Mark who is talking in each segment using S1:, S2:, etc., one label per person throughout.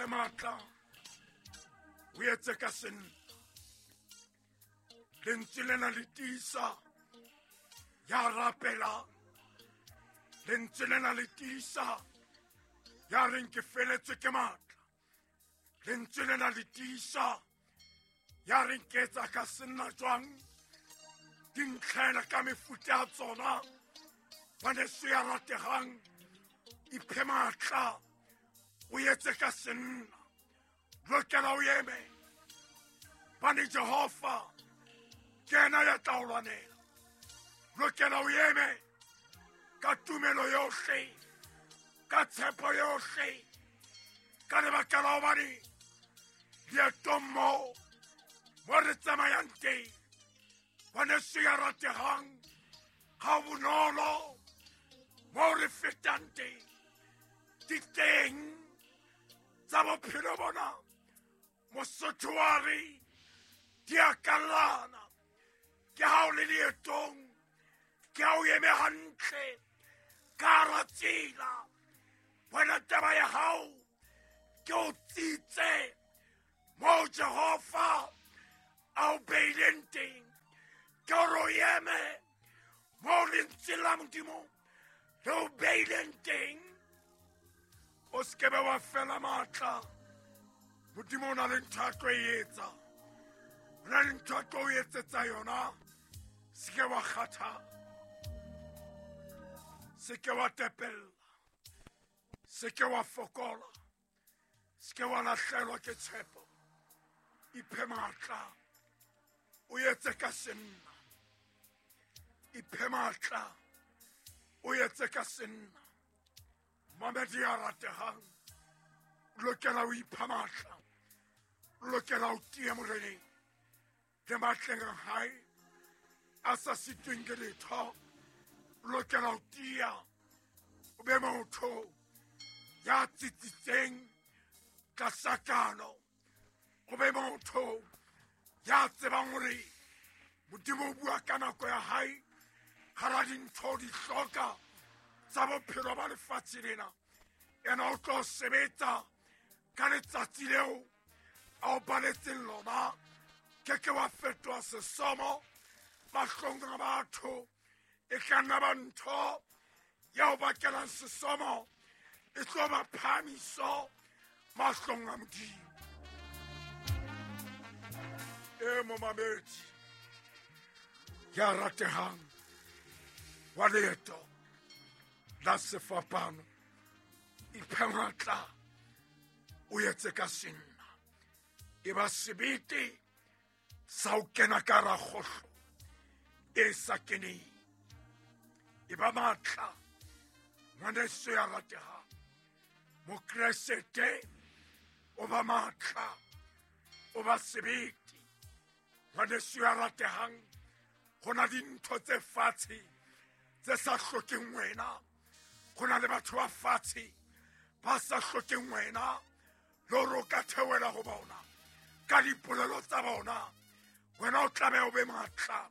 S1: Iphe matla, o etse ka senna. Lentswe lena le tiisa ya rapelang. Lentswe lena le tiisa ya reng ke feletswe ke matla. Lentswe lena le tiisa ya reng ke etsa ka senna jwang. Di ntlhela ka mefuta ya tsona. Ngwaneso ya rategang, iphe matla, o etse ka senna. Lokela o eme, bane Jehova ke yena ya tla o lwanela. Lokela o eme ka tumelo yohle, ka tshepo yohle, ka lebaka la hobane leetong moo mo re tsamayang teng, ngwaneso ya rategang, ga bonolo mo re fetang teng, di teng tsa bophelo bona. Mosotho wa re di a kallana. Ke ha o le leetong, ke ha o eme hantle ka hara tsela. Wena taba ya hao ke o tsitse moo Jehova a o beileng teng. Ke hore o eme moo lentswe la Modimo le o beileng teng. O se ke be wa fela matla. Modimo o na le ntho a tlo e etsa, o na le ntho a tlo o etsetsa yona. Se ke wa kgathala, se ke wa tepella, se ke wa fokola, se ke wa lahlelwa ke tshepo. Iphe matla, o etse ka senna. Iphe matla, o etse ka senna. Mamedi ya rategang, o lokela ho ipha matla, o lokela ho tiya Moreneng le matleng a hae a sa sitweng ke letho. O lokela ho tiya, o be motho ya tsitsitseng tlasa kano, o be motho ya tsebang hore Modimo o bua ka nako ya hae hara dintho di hloka tsa bophelo ba lefatshe lena. Yena o tlo sebetsa ka letsatsi leo a o baletseng lona. Ke ke wa fetoha sesomo mahlong a batho. E tla nna ba ntho ya o bakelang sesomo, e tlo ba phahamiso mahlong a Modimo. E momamedi ya ratehang wa leeto la sefapano, iphe matla, o etse ka senna. E ba sebete sa ho kena ka hara kgohlo e sa keneng. E ba matla, ngwaneso ya ratehang. Mokreste o ba matla, o ba sebete. Ngwaneso ya ratehang, ho na dintho tse fatshe tse sa hlokeng wena. Ho na le batho ba fatshe ba sa hlokeng wena, le hore o ka theohela ho bona ka dipolelo tsa bona. Wena o tlameha o be matla,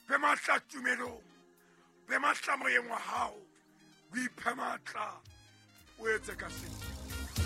S1: be matla tumelong, be matla moyeng wa hao, o iphe matla, o etse ka sena.